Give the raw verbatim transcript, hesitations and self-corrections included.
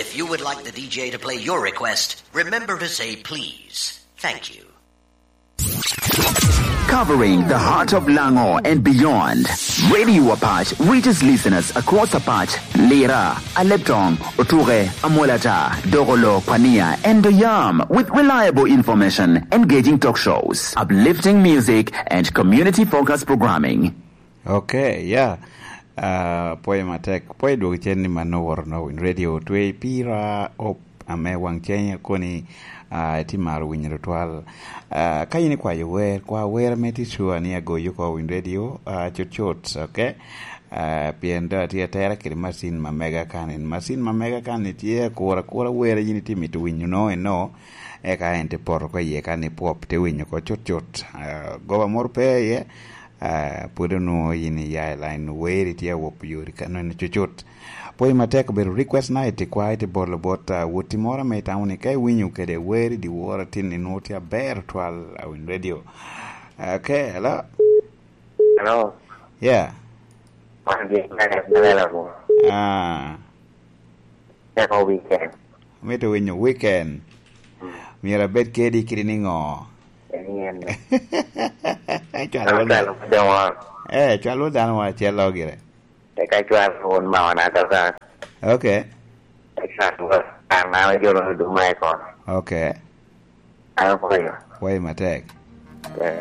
If you would like the D J to play your request, remember to say please. Thank you. Covering the heart of Lango and beyond, Radio Apac reaches listeners across Apac, Lira, Aleptong, Otuke, Amolata, Dogolo, Pania, and Oyam with reliable information, engaging talk shows, uplifting music, and community-focused programming. Okay, yeah. Ah, pwoyo matek. Pwoyo dwoko cen ni mano woro no Win Radio otwe pira op ame waŋ cen koni, ah, iti maro winyo tutwal. Ah, ka in ikwayo wer, kwa wer ame ti sure ni agoyo oko Win Radio, ah, cut cut, okay? Ah, pien do atye atera kede masin ma mega kan. En masin ma mega kan ni tye akura akura wer yin iti mito winyo no eno, eka en ti poto ko iye kan ni pwop, ti winyo ko cut cut. Ah, goba moro pe iye, ah, pwod onwoŋo yin iya i line, weri tye awop yori ka nonno cucut. Pwoyo matek obedo request night, ikwa iti bolo bot, ah, woti moro ame itamo ni ka iwinyo kede weri dyewor atin ni nwoŋo tye aber twal, ah, Win Radio. Ah, okay, hello? Hello? Yeah. Wan gin me, me lela mo. Ah. Teko weekend. Amito winyo weekend. Mm. Myero abed kedi kidi niŋo? Eni en. Cwalo wot dano. Cwalo wot dano. Eh, cwalo wot dano wa acel lo gire. Eka cwalo won mawana kaka. Okay. Eka cwalo wot dano, an awe jolo ni duma i kono. Okay. An apoyo. Wayi matek. Eh.